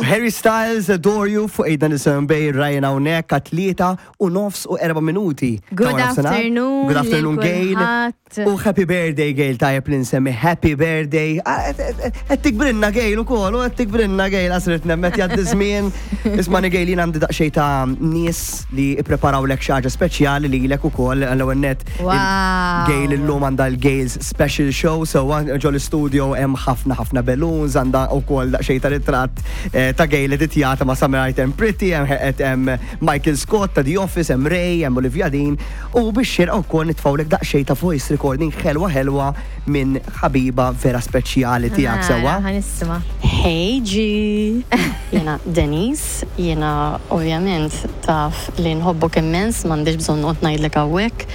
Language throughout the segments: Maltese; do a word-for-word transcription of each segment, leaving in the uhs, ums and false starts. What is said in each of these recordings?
Harry Styles, "Adore You" fuq Ejda Nisimgħu Babe, Ryan hawnhekk għat-tlieta u nofs u erba' minuti. Good Ta' nofsinhar. Afternoon Good afternoon, lil Gail. kulħadd. U happy birthday, Gail, tajjeb li nsemmi happy birthday. Ah, qed tikbrinna, Gail, ukoll, u qed tikbrinna, Gail, għasret nemmet jgħaddi żmien. Ismani, Gail, jien għandi daqsxejn ta' nies li ippreparawlek xi ħaġa speċjali lilek ukoll, għall-ewwel net. Wow. Gail illum għandha l-Gail's Special Show, so ġo l-studio hemm ħafna ħafna balloons, għandha wkoll daqsxejn ta' ritratt eh, ta' Gail editjata ma' Summer Item Pretty, hemm hemm Michael Scott ta' The Office, hemm Ray, hemm Olivia Dean, u biex xirqa wkoll nitfawlek daqsxejn ta' voice recording ħelwa ħelwa minn ħabiba vera speċjali tiegħek, sewwa. Ħa nisma'. Hey G! Jiena Denise, jiena ovvjament taf li nħobbok immens, m'għandix bżonn noqgħod ngħidlek hawnhekk.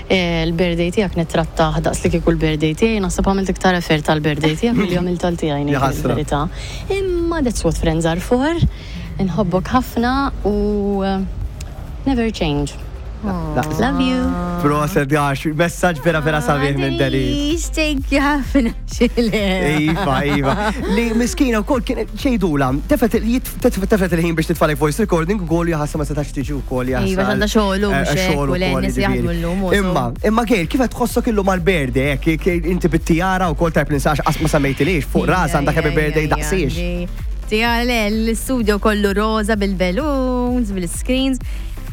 Eh, Il-birthday tiegħek nittrattah daqs li kieku l-birthday tiegħi, naħseb għamilt iktar effort tal-birthday tiegħek milli għamilt tal-tiegħi, ngħid Jaħasra. il-verità. Imma that's what friends are for. Nħobbok ħafna u eh, never change. Love you. Proset, għax, messaġġ vera vera sabiħ minn Denise. Denise, thank you ħafna xile. Iva, iva. Li miskina u kol kien ċejdula, tefet tefet il-ħin biex titfalek voice recording u kol jaħassa ma setax tiġi u kol jaħassa. Iva, għandha xogħol u mhux hekk, u le, nies jaħdmu llum u so. Imma, imma Gail, kif qed tħossok illum għal-birthday, hekk, inti bit-tijara u kol tajb ninsax qas ma semmejtilix, fuq ras għandek happy birthday daqsiex. Tija, le, l-studio kollu roza bil-balloons, bil-screens.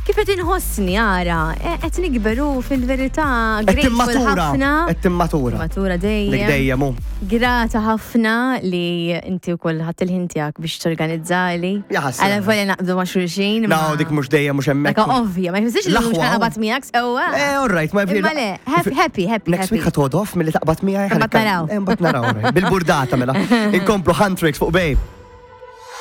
Kif qed inħossni ara, eh, qed nikberu fil-verità, Qed grateful timmatura, ħafna. qed timmatura. Matura Dik dejjem. dejjem u. Grata ħafna li inti wkoll ħadd il-ħin tiegħek biex torganizzali. Jaħasra. Għala volja naqbdu ma' xulxin. No, dik mhux dejjem mhux hemmhekk. Dak ovvja, ma jfissirx li mhux L-aħwa. naqbad miegħek sewwa. Eh, all right, ma Imma le, happy, happy, happy. Next week happy. ħa toħod off milli taqbad miegħi. Imbagħad naraw. Imbagħad naraw. Bil-burdata mela. Inkomplu Huntrix fuq Babe.